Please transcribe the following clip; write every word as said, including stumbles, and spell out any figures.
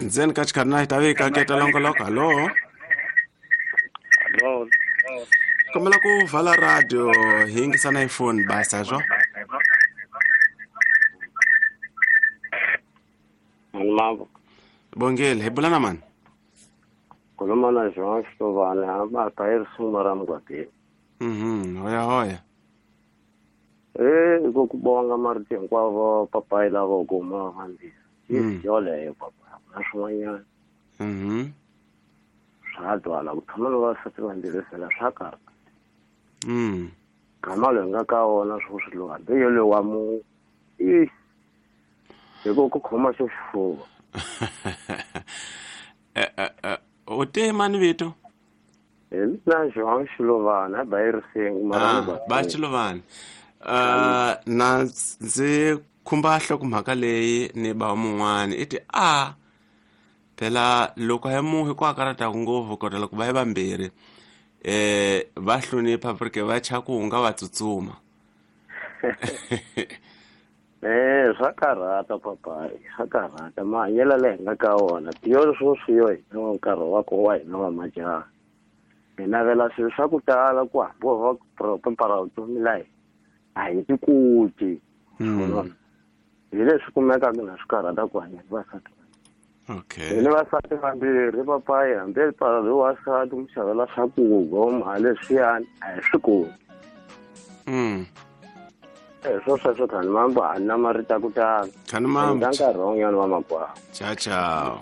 Ndzeni ka xikarhi ta vika keta longoloko. Hallo. Hallo. Kombela ku vala radio hi yingisana hi phone basa swo. Mambo. Bongele, hi bula na mani? Khuluma na João Xilovani, hamba ta hi risimu ra Mugwatini. Mhm, hoya hoya. Eh, ku ku bonga marito hinkwavo papayi lava kuma vambirhi. Mm. Yoleyo papa, na swin'wanyana. Mhm. Swa twala ku tshama na vavasati vambirhi fela swa karhata. Mm. Gama loyi nga ka wona sweswi lowu hambi yoloye wa mu i hi ku ku khoma xo xifuva. Eh eh u te mani vito? Hi mina João Xilovani, a ba hi risimu mara Ah, ba Xilovani. Uh, na ndzi khumba nhlokomhaka leyi ni ba mun'wani i ti a phela loko ya muhi ku akarataku ngopfu kodwa loko va yi vambirhi eh va hlonipha porque va cha ku nga va tsutsuma. Eh, swa karhata papayi, swa karhata mahanyelo leyi hi nga ka wona tiyo sweswi yo hina wa nkarhi wa ko wa hina wa majaha hi navela swilo swa ku tala ku hambi va vutomi la hina a hi ti koti. Mm. Hi leswi kumekaka na swi karhata ku hanya ni vasati. Okay. Hi ni vasati vambirhi papayi, hambi loyi wasati mu xavela swakudya mali leswiyani a hi swi koti. Mm. Eh, swo sweswo khani mambo a ni na marito ya ku tala. Khani mambo. Ka nkarhi wun'wanyana wa makwavo. Ciao ciao.